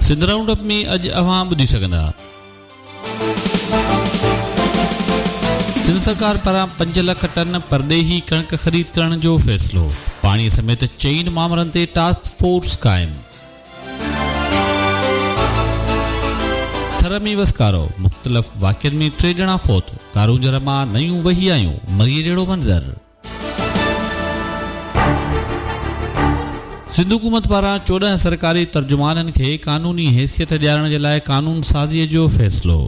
Sindh round up ۾ اڄ اوهان ٻڌي سگهندا. سنڌ سرڪار پاران 5 لک ٽن پرڏيهي ڪڻڪ خريد ڪرڻ جو فيصلو، پاڻي سميت چئن مامرن تي ٽاسڪ فورس قائم. ٿر ۾ وسڪارو، مختلف واقعن ۾ 3 ڄڻا فوت، ڪارونجهر مان نيون وهي آيون، مريء جهڙو منظر. سنڌ حڪومت پاران 14 سرڪاري ترجمانن کي قانوني حيثيت ڏيارڻ جي لاء قانون سازيء جو فيصلو.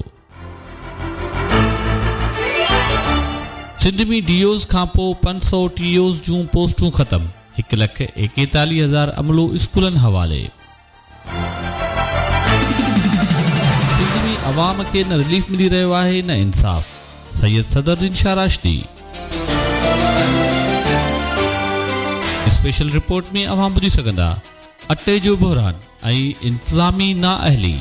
سنڌ ۾ ڊي اوز کانپوء 500 ٽي اوز جون پوسٽون ختم، 1,41,000 عملو اسڪولن حوالي. سنڌ ۾ عوام کي نه رليف ملي رهيو آهي نه انصاف، سيد صدرالدين شاهه راشدي. اسپيشل رپورٽ ۾ اوهان ٻڌي سگهندا، اٽي جو بحران ۽ انتظامي نااهلي.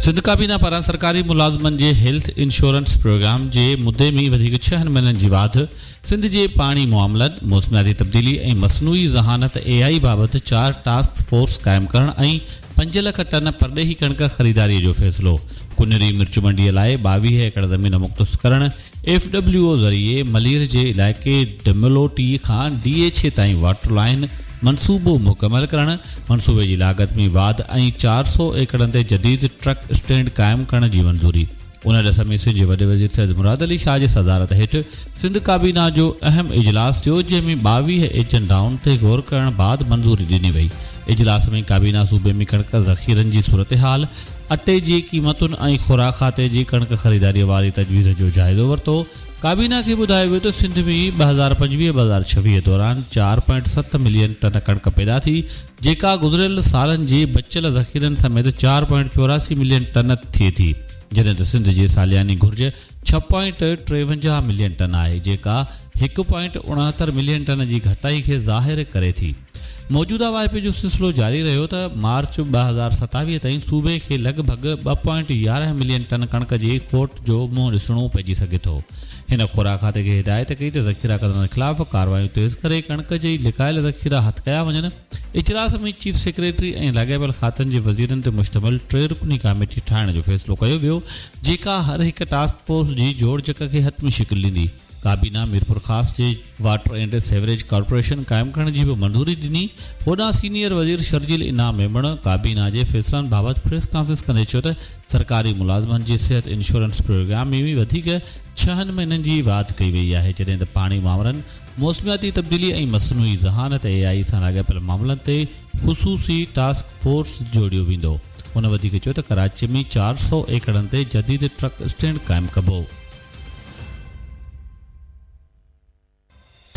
سنڌ ڪابينا پاران سرڪاري ملازمن جي هيلٿ انشورنس پروگرام جي مدي ۾ وڌيڪ 6 مهينن جي واڌ، سنڌ جي پاڻي معاملن، موسمياتي تبديلي ۽ مصنوعي ذهانت اي آء بابت 4 ٽاسڪ فورس قائم ڪرڻ ۽ 5 لک ٽن پرڏيهي ڪڻڪ خريداري جو فيصلو، ڪنري مرچ منڊي لاء 22 ايڪڙ زمين مختص ڪرڻ، ايف ڊبليو او ذريعي ملير جي علائقي ڊملوٽي کان ڊي ايڇ اي تائين واٽر لائين منصوبو مڪمل ڪرڻ، منصوبي جي لاڳت ۾ واڌ ۽ 400 ايڪڙن تي جديد ٽرڪ اسٽينڊ قائم ڪرڻ جي منظوري. ان ڏس ۾ سنڌ جي وڏي وزير سيد مراد علي شاهه جي صدارت هيٺ سنڌ ڪابينا جو اهم اجلاس ٿيو جنهن ۾ 22 ايجنڊائن تي غور ڪرڻ بعد منظوري ڏني وئي. اجلاس ۾ ڪابينا صوبي ۾ ڪڻڪ ذخيرن جي صورتحال، اٽي جي قيمتن ۽ خوراڪ کاتي جي ڪڻڪ خريداري واري تجويز جو جائزو ورتو. ڪابينا کي ٻڌايو ويو ته سنڌ ۾ 2025 2026 دوران 4.7 ملين ٽن ڪڻڪ پيدا ٿي، جيڪا گذريل سالن جي بچيل ذخيرن سميت 4.84 ملين ٽن ٿئي ٿي، جڏهن ته سنڌ جي سالياني گهرج 6.53 ملين ٽن آهي، جيڪا 1.69 ملين ٽن جي گهٽتائي کي ظاهر ڪري ٿي. موجوده واهپي جو سلسلو جاري رهيو ته مارچ 2027 تائين صوبي کي لڳ ڀڳ 2.11 ملين ٽن ڪڻڪ جي کوٽ جو منهن ڏسڻو پئجي سگهي ٿو. هن خوراڪ کاتي کي هدايت ڪئي ته ذخيرا ڪندڙن خلاف ڪارروايون تيز ڪري ڪڻڪ جي لڪايل ذخيرا هٿ ڪيا وڃن. اجلاس ۾ چيف سيڪريٽري ۽ لاڳاپيل کاتن جي وزيرن تي مشتمل 3 رڪني ڪاميٽي ٺاهڻ جو فيصلو ڪيو ويو جيڪا هر هڪ ٽاسڪ فورس جي جوڙجڪ کي حتمي شڪل ڏيندي. ڪابينا ميرپورخاص جي واٽر اينڊ سيوريج ڪارپوريشن قائم ڪرڻ جي به منظوري ڏني. هوڏانهن سينيئر وزير شرجيل انعام ميمڻ ڪابينا جي فيصلن بابت پريس ڪانفرنس ڪندي چيو ته سرڪاري ملازمن جي صحت انشورنس پروگرام ۾ وڌيڪ 6 مهينن جي واڌ ڪئي وئي آهي جڏهن ته پاڻي مامرن، موسمياتي تبديلي ۽ مصنوعي ذهانت اي آء سان لاڳاپيل معاملن تي خصوصي ٽاسڪ فورس جوڙيو ويندو. هن وڌيڪ چيو ته ڪراچي ۾ 400 ايڪڙن تي جديد ٽرڪ اسٽينڊ قائم ڪبو.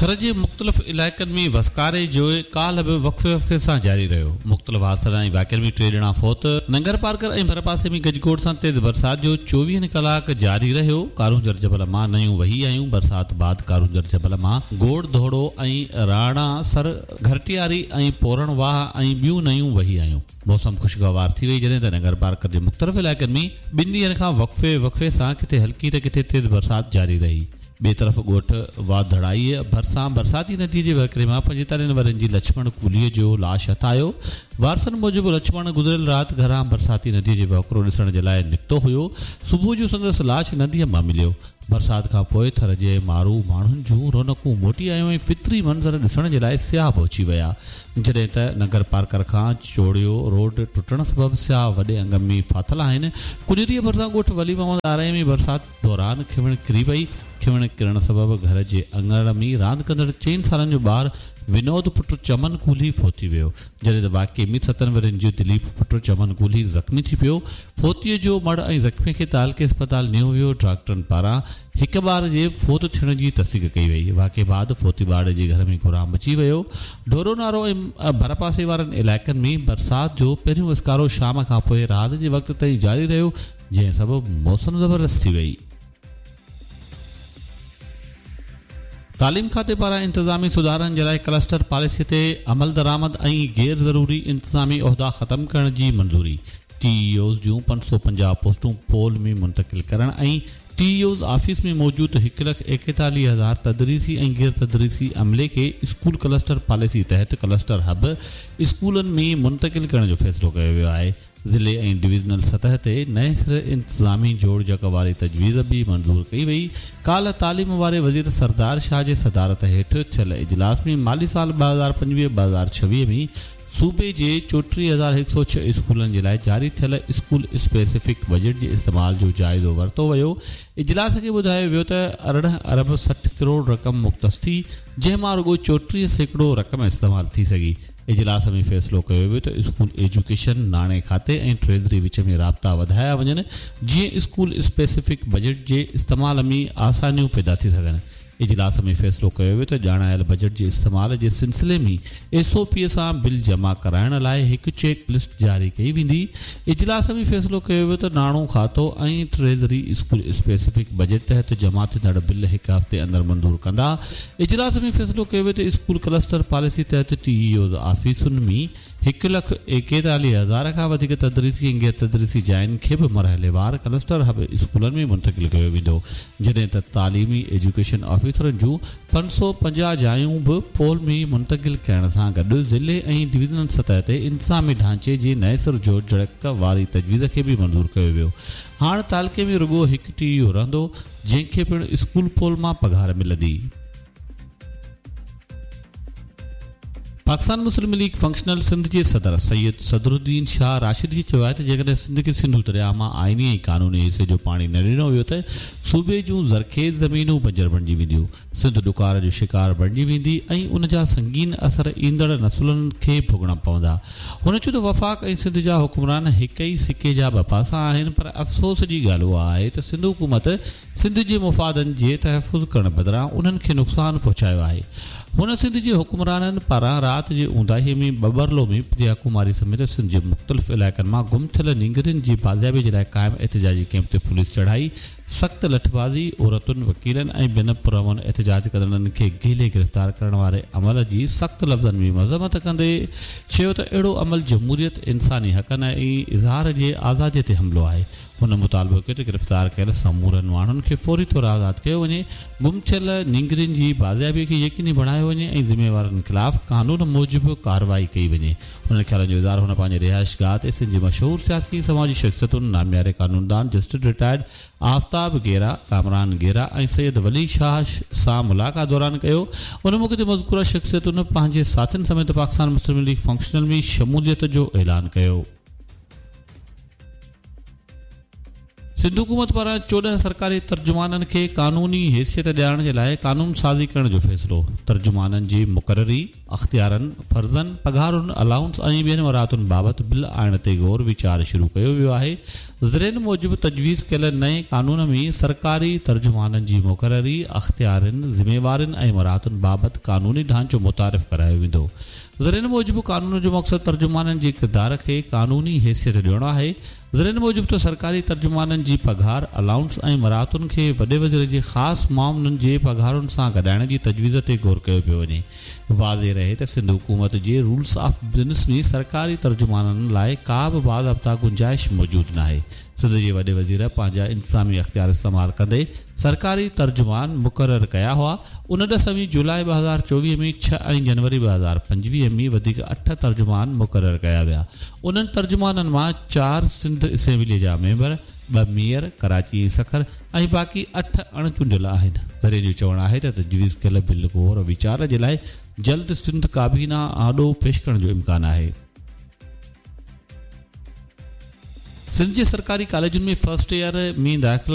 ٿر جي مختلف علائقن ۾ وسڪاري جو ڪالهه به وقفي وقفي سان جاري رهيو. مختلف حادثن ۽ واقعن ۾ 3 ڄڻا فوت، ننگرپارڪر ۽ ڀرپاسي ۾ گجگوڙ سان تيز برسات جو 24 ڪلاڪ جاري رهيو. ڪارونجهر جبل مان نيون وهي آيون، برسات بعد ڪارونجهر جبل مان گوڙ ڌوڙو ۽ راڻا سر، گهرٽياري ۽ پورڻ واهه ۽ ٻيون نيون وهي آيون. موسم خوشگوار ٿي وئي جڏهن ته ننگرپارڪر جي مختلف علائقن ۾ 2 ڏينهن کان وقفي وقفي سان ڪٿي هلڪي ته ڪٿي تيز برسات جاري رهي. ٻئي طرف ڳوٺ واڌڙائيء ڀرسان برساتي نديء جي وهڪري مان 45 ورهين جي لڇمڻ ڪولهيء جو لاش هٿ آيو. وارثن موجب لڇمڻ گذريل رات گهران برساتي نديء جي وهڪرو ڏسڻ جي لاء نڪتو هيو، صبح جو سندس لاش نديء مان مليو. برسات کان پوء ٿر جي مارو ماڻهن جون رونقون موٽي آيون ۽ فطري منظر ڏسڻ جي لاء سياح پهچي ويا. جڏهن ته ننگرپارڪر کان چوڙيو روڊ ٽٽڻ سبب سياح وڏي انگ ۾ ڦاٿل آهن. ڪنريء ڀرسان ڳوٺ ولي محمد آرائين ۾ برسات دوران کنوڻ ڪري پئي. کنوڻ ڪرڻ سبب گهر جي اڱڻ ۾ راند ڪندڙ 4 سالن جو ٻار ونود پٽ چمن ڪولهي فوت ٿي ويو. جڏهن ته واقعي ۾ 7 ورهين جو دليپ پٽ چمن ڪولهي زخمي ٿي پيو. فوتيء جو مڙهه ۽ زخمي کي تعلقي اسپتال نيو ويو. ڊاڪٽرن پاران هڪ ٻار جي فوت ٿيڻ جي تصديق ڪئي وئي. واقعي بعد فوتي ٻارڙي جي گهر ۾ ڪهرام مچي ويو. ڍورو نارو ۽ ڀرپاسي وارن علائقن ۾ برسات جو پهريون وسڪارو شام کانپوء رات جي وقت تائين جاري رهيو، جنهن سبب موسم زبردست ٿي وئي. تعليم کاتي پاران انتظامي سڌارن جي لاء ڪلسٽر پاليسي تي عملدرآمد ۽ غير ضروري انتظامي عهدا ختم ڪرڻ جي منظوري، ٽي اي اوز جون 550 پوسٽون پول ۾ منتقل ڪرڻ ۽ ٽي اي اوز آفيس ۾ موجود هڪ لک ايڪيتاليهه هزار تدريسي ۽ غير تدريسي عملي کي اسڪول ڪلسٽر پاليسي تحت ڪلسٽر هب اسڪولن ۾ منتقل ڪرڻ جو فيصلو ڪيو ويو آهي. ضلعي ۽ ڊويزنل سطح تي نئين سر انتظامي جوڙجڪ واري تجويز به منظور ڪئي وئي. ڪالهه تعليم واري وزير سردار شاهه جي صدارت هيٺ ٿيل اجلاس ۾ مالي سال 2025 2026 ۾ صوبي جي 34106 اسڪولن جي لاء جاري ٿيل اسڪول اسپيسفڪ بجيٽ جي استعمال جو جائزو ورتو ويو. اجلاس کي ٻڌايو ويو ته 18 ارب 60 ڪروڙ رقم مختص ٿي، جنهن مان رڳو 34% رقم استعمال ٿي سگهي. اجلاس ۾ فيصلو ڪيو ويو ته اسڪول ايجوڪيشن، ناڻي کاتي ۽ ٽريزري وچ ۾ رابطا وڌايا وڃن جيئن اسڪول اسپيسفڪ بجيٽ جي استعمال ۾ آسانيون پيدا ٿي سگهن. اجلاس ۾ فيصلو ڪيو ويو ته ڄاڻايل بجيٽ جي استعمال جي سلسلي ۾ ايس او پي سان بل جمع ڪرائڻ لاء هڪ چيڪ لسٽ جاري ڪئي ويندي. اجلاس ۾ فيصلو ڪيو ويو ته ناڻو کاتو ۽ ٽريزري اسڪول اسپيسفڪ بجيٽ تحت جمع ٿيندڙ بل هڪ هفتي اندر منظور ڪندا. اجلاس ۾ فيصلو ڪيو ويو ته اسڪول ڪلسٽر پاليسي تحت ٽي اي اوز آفيسن ۾ هڪ لک ايڪيتاليهه هزار کان وڌيڪ تدريسي ۽ غير تدريسي جاين کي به مرحليوار ڪلسٽر هب اسڪولن ۾ منتقل ڪيو ويندو جڏهن ته تعليمي ايجوڪيشن آفيسرن جون 550 جايون به پول ۾ منتقل ڪرڻ سان گڏ ضلعي ۽ ڊويزنل سطح تي انتظامي ڍانچي جي نئين سر جوڙجڪ واري تجويز کي به منظور ڪيو ويو هاڻ تعلقي ۾ رڳو هڪ ٽي اي او رهندو جنهن کي پڻ اسڪول پول مان پگهار ملندي. پاڪستان مسلم ليگ فنڪشنل سنڌ جي صدر سيد صدرالدين شاهه راشدي چيو آهي ته جيڪڏهن سنڌ کي سنڌو درياهه مان آئيني ۽ قانوني حصي جو پاڻي نه ڏنو ويو ته صوبي جون زرخيز زمينون بنجر بڻجي وينديون، سنڌ ڏڪار جو شڪار بڻجي ويندي ۽ ان جا سنگين اثر ايندڙ نسلن کي ڀوڳڻا پوندا. هن چيو ته وفاق ۽ سنڌ جا حڪمران هڪ ئي سڪي جا ٻه پاسا آهن پر افسوس جي ڳالهه اها آهي ته سنڌ حڪومت سنڌ جي مفادن جي تحفظ ڪرڻ بدران انهن کي نقصان پهچايو آهي. هن سنڌ جي حڪمرانن پاران رات جي اونداهي ۾ ٻٻرلو ۾ پريا ڪماري سميت سنڌ جي مختلف علائقن مان گم ٿيل نينگرين جي بازيابي جي لاء قائم احتجاجي ڪئمپ تي پوليس چڙهائي سخت لٺبازي، عورتن، وڪيلن ۽ ٻين پرامن احتجاج ڪندڙن کي گهلي گرفتار ڪرڻ واري عمل جي سخت لفظن ۾ مذمت ڪندي چيو ته اهڙو عمل جمهوريت، انساني حقن ۽ اظهار جي آزادي تي حملو آهي. هن مطالبو ڪيو ته گرفتار ڪيل سمورن ماڻهن کي فوري طور آزاد ڪيو وڃي، گم ٿيل نينگرين جي بازيابي کي يقيني بڻايو وڃي ۽ ذميوارن خلاف قانون موجب ڪارروائي ڪئي وڃي. انهن خيالن جو اظهار هن پنهنجي رهائشگاهه تي سنڌ جي مشهور سياسي ۽ سماجي شخصيتن، نامياري قانوندان جسٽس رٽائرڊ آفتاب گيرا، ڪامران گيرا ۽ سيد ولي شاهه سان ملاقات دوران ڪيو. ان موقعي تي مذڪوره شخصيتن پنهنجي ساٿين سميت پاڪستان مسلم ليگ فنڪشنل ۾ شموليت جو اعلان ڪيو. سنڌ حڪومت پاران 14 سرڪاري ترجمانن کي قانوني حيثيت ڏيارڻ جي لاء قانون سازي ڪرڻ جو فيصلو، ترجمانن جي مقرري، اختيارن، فرضن، پگهارن، الائونس ۽ ٻين مراعتن بابت بل آڻڻ تي غور ويچار شروع ڪيو ويو آهي، ذريعن موجب تجويز ڪيل نئين قانون ۾ سرڪاري ترجمانن جي مقرري، اختيارين، ذميوارين ۽ مراعتن بابت قانوني ڍانچو متعارف ڪرايو ويندو. ذريعن موجب قانون جو مقصد ترجمانن جي ڪردار کي قانوني حيثيت ڏيڻ آهي. ذريعن موجب ته سرڪاري ترجمانن جي پگهار، الائونس ۽ مراعتن کي وڏي وزير جي خاص معاونن جي پگهارن سان گڏائڻ جي تجويز تي غور ڪيو پيو وڃي. واضح رهي ته سنڌ حڪومت جي رولز آف بزنس ۾ سرڪاري ترجمانن لاء ڪا به باضابطا گنجائش موجود ناهي. سنڌ جي وڏي وزير پنهنجا انتظامي اختيار استعمال ڪندي سرڪاري ترجمان مقرر ڪيا هئا، ان ڏس ۾ جولاء 2024 ۾ ڇهه ۽ جنوري 2025 ۾ وڌيڪ اٺ ترجمان مقرر ڪيا ويا. انهن ترجمانن مان چار سنڌ اسيمبليء جا ميمبر، ٻه ميئر، ڪراچي ۽ سکر، ۽ باقي اٺ اڻ چونڊيل آهن. ذريعن جو چوڻ آهي ته تجويز ڪيل بل غور ويچار جي لاء جلد سنڌ ڪابينا آڏو پيش ڪرڻ جو امڪان آهي. سنڌ جي سرڪاري ڪاليجن ۾ فرسٽ ايئر ۾ داخلا.